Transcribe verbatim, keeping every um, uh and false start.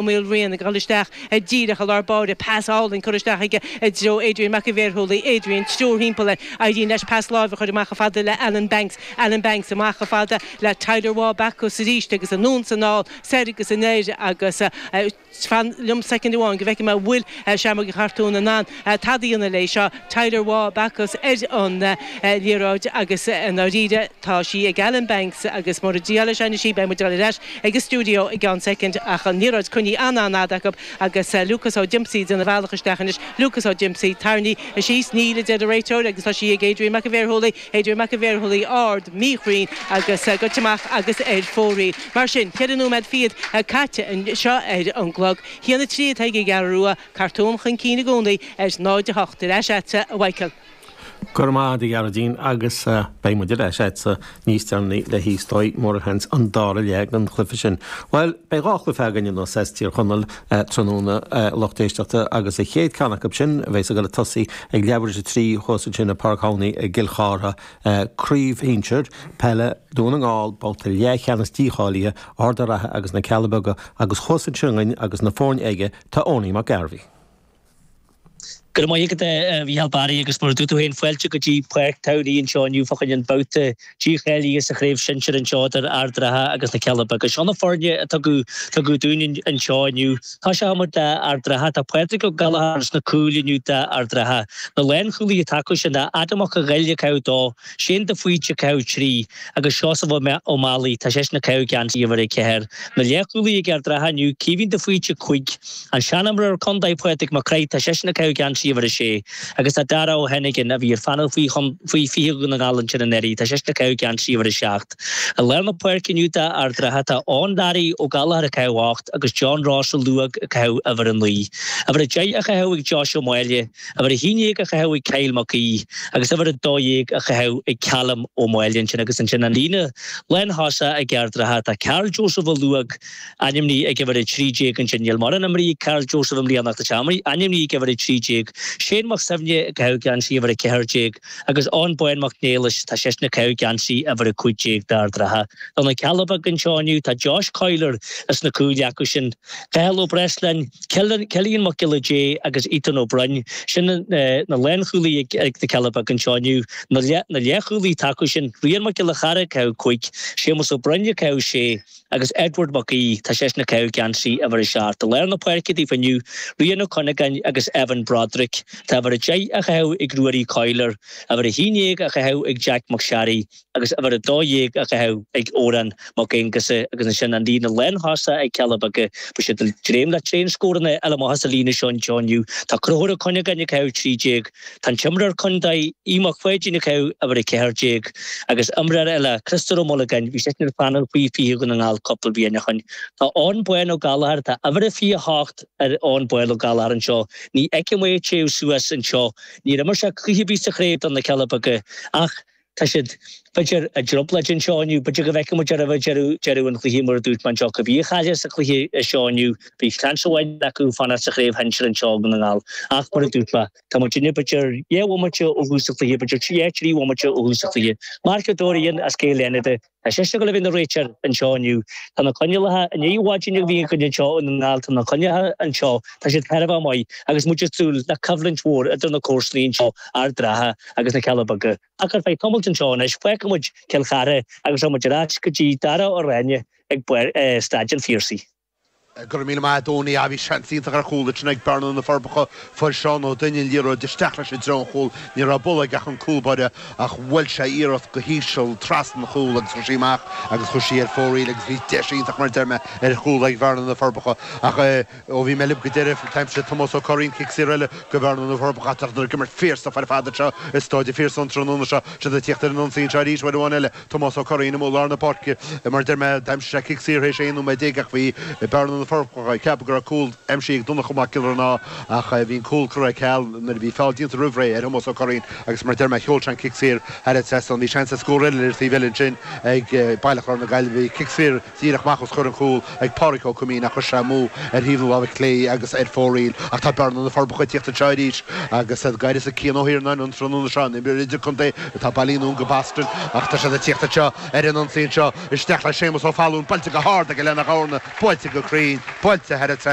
Maolriain ag dul isteach díreach i lár báire, pas álainn curtha isteach aige i dtreo Adrian Mac an Bhéarshúlaigh, Adrian triúr thimpeall air, éiríonn leis pas láimhe a chur amach chomh fada le Alan Banks, Alan Banks amach chomh fada le Tyler Waugh Bacchus arís agus anonn 's anall, soir agus anoir agus fan liom soicind amháin go bhfeicfidh mé an bhfuil Seamróg Uí Chartúin in ann tada a dhéanamh léi seo, Tyler Waugh Bacchus ar an liathróid agus i ndáiríre tá sí ag Alan Banks agus mura díol leis anois í beidh muid ag dul ar ais ag an stiúideo i gceann soicind ach an liathróid coinnithe an-an-fhada acu agus Lucas Ó Diomsaí ag déanamh a bhealach isteach anois, Lucas Ó Diomsaí tarraingthe síos, níl a deir an réiteoir agus tá sí ag Adrian Mac an Bhéarshúlaigh, Adrian Mac an Bhéarshúlaigh ard, míchruinn agus goite amach agus ar fóraoil. Mar sin, ceithre nóiméad fichead caite anseo ar an gclog. Haon a trí atá ag an gCeathrú Rua, Cartún chun cinn i gcónaí ar náid a hocht. Ar ais agatsa, a Mhichael. Go raibh maith agat, a Ghearóidín, agus beidh muid ar ais agatsa níos deireanaí le is dóigh mórasheans an dara leath den chluiche sin. Bhuel, beidh dhá chluiche againn anois as Tír Chonaill tráthnóna, a lucht éisteachta, agus an chéad ceann acu sin a bheas ag dul ag tosaí ag leathuair tar éis a trí thuas ansin i Páirc Thamhnaigh i gCill Chartha, Craobh Shinsir Peile Dhún na nGall, babhta leathcheannais dícháilithe, Ard an Rátha agus na Cealla Beaga, agus thuas ansin againn agus na foirne aige tá Owenie Mac Gairbhí. Go raibh maith agat a Mhícheál Barry agus mar a dúirt tú féin fáilte go dtí Páirc Thamhnaigh anseo inniu fá choinne an babhta dícháilithe sa chraobh shinsir anseo idir Ard an Rátha agus na Cealla Beaga. Seo na foirne a tugadh tugadh dúinn anseo inniu. Tosóidh muid le Ard an Rátha. Tá Pádraig Ó Gallchóir sna cúil inniu d'Ard an Rátha. Na lánchúlaithe atá acu sin ná Adam Mac a' Ghoill ag caitheamh a dó, Shane de Faoite ag caitheamh trí agus Seosamh Ó Málaí, tá seisean ag caitheamh geansaí uimhir a ceathair. Na leathchúlaithe ag Ard an Rátha inniu, Caoimhín de Faoite cúig, an seanimreoir contae Pádraig Mac Craith, tá seisean ag caitheamh geansaí uimhir a sé, agus tá Dara Ó Hennigan, a bhí ar phainéal faoi faoi fiche Dhún na nGall ansin anuraidh, tá seisean ag caitheamh geansaí uimhir a seacht. I lár na páirce inniu d'Ard an Rátha tá Eoin Learaí Ó Gallchóir ag caitheamh ocht agus John Ross Ó Luag ag caitheamh uimhir a naoi. Uimhir a deich á chaitheamh ag Josh Ó Máille, uimhir a haon déag á chaitheamh ag Kyle Mac Aoidh agus uimhir a dó dhéag á chaitheamh ag Callum Ó Máille ansin agus ansin an líne lánthosach ag Ard an Rátha tá Karl Joseph Ó Luag ainmnithe ag uimhir a trí déag ansin. Níl mórán imeartha ag Karl Joseph i mbliana ach tá sé ainmnithe ag uimhir a trí déag. Shane Mac Suibhne ag caitheamh geansaí uimhir a ceathair déag agus Eoin Bán Mac Niallais, tá seisean ag caitheamh geansaí uimhir a cúig déag d'Ard an Rátha. Do na Cealla Beaga anseo inniu tá Josh Coyler sna cúil acu sin, Cathal Ó Breisleáin, Cillian Mac Giolla Dé agus Ethan Ó Broin, sin na lánchúlaithe ag na Cealla Beaga anseo inniu. Na leathchúlaithe atá acu sin, Rian Mac Giolla Chara ag caitheamh cúig, Séamus Ó Broin ag caitheamh sé agus Edward Mac Aoidh, tá seisean ag caitheamh geansaí uimhir a seacht. I lár na páirce daofa inniu, Rian Ó Cuinneagáin agus Evan Broderick. Tá uimhir a deich á chaitheamh ag Ruairí Coyler, uimhir a haon déag á chaitheamh ag Jack McSharry agus uimhir a dó dhéag á chaitheamh ag Odhrán Mac Aonghusa agus ansin an líne lánthosach ag Cealla Beaga. Beidh siad ag dréim le tréanscóranna a fháil amach as an líne seo anseo inniu. Tá Conchúr Ó Cuinneagáin ag caitheamh trí déag. Tá an t-imreoir contae Aodh Mac Pháidín ag caitheamh uimhir a ceathair déag agus imreoir eile, Criostóir Ó Mullagáin, bhí seisean ar phainéal faoi fiche Dhún na nGall cúpla bliain ó shin. Tá Eoin Bán Ó Gallchóir, tá uimhir a fiche hocht ar Eoin Bán Ó Gallchóir anseo. Ní fheicim é ag téamh suas anseo. Níor imir sé cluiche ar bith sa chraobh do na Cealla Beaga ach tá siad, b'fhéidir, i dtrioblóid anseo inniu. B'fhéidir go bhfeicfidh muid roimh deireadh, deireadh an chluiche mar a dúirt mé anseo. Cibé a chaillfeas sa chluiche seo inniu, beidh seans amháin acu fanacht sa chraobh shinsir anseo i nDún na nGall. Ach mar a dúirt mé, tá muidinne b'fhéidir dhá bhomaite ó thús an chluiche, b'fhéidir trí, trí bhomaite ó thús an chluiche. Mark Ó Dorian as Cill Fhánada, tá seisean ag dul a bheith ina réiteoir anseo inniu. Tá na coinníollacha, i ndiaidh mhaidin a bhí againn anseo i nDún na nGall, tá na coinníollacha anseo, tá siad thar a bheith maith agus muid ag súil le coimhlint mhór idir na comharsanaí anseo, Ard an Rátha agus na Cealla Beaga. Ach ar feadh tamaill anseo anois, fágfaidh muid Cill Chartha agus rachaidh muid ar ais go dtí Dara Ó Ráinne ag Staid an Phiarsaigh. Go raibh míle maith agat Owenie. Bhí seans iontach ar chúl ansin ag Bearna na Forbacha. Fuair Seán Ó Duinn an liathróid isteach leis i dtreo an chúil. Ní raibh buille aige ach an cúl báire ach bhuail sé iarracht go híseal trasna an chúil agus chuaigh sí amach agus chuaigh sí ar fóraoil agus bhí deis iontach mar a deir mé ar chúl ag Bearna na Forbacha ach ó bhí mé libh go deireadh d'aimsigh Tomás Ó Curraoin cic saor eile do Bhearna na Forbacha ach tá siad ag imirt fierce ar fad anseo i Staid an Phiarsaigh an tráthnóna seo. Siad ag tíocht ar an ionsaí anseo arís uair amháin eile. Tomás Ó Curraoin amuigh i lár na páirce. Mar a deir mé, d'aimsigh sé cic saor théis aon nóiméad déag ach bhí Bearna na Forbacha ag ceapadh go raibh cúl aimsithe ag Donncha Mac Giolla Ránaigh ach bhí an cúl curtha ar ceal nuair a bhí feall déanta roimh ré ar Thomás Ó Curraoin agus mar a deir mé, sheol sé an cic saor thar an trasnán. Bhí seans ar scór eile ar an taobh eile ansin ag Baile Chláir na Gaillimhe. Bhí cic saor díreach amach os comhair an chúil ag Pádraic Ó Coimín ach chuir sé amú ar thaobh na láimhe clé agus ar fóraoil. Ach tá Bearna na Forbacha ag tíocht anseo arís agus iad ag uireasa Cian Ó hIarnáin an tráthnóna seo, an imreoir idirchontae atá bailithe anonn go Boston ach tá siad ag tíocht anseo ar an ionsaí anseo isteach le Séamus Ó Fallúin, buailte go hard aige Lena Dhomhna, buailte go cruinn. Gearóidín, buailte thar an trasnán.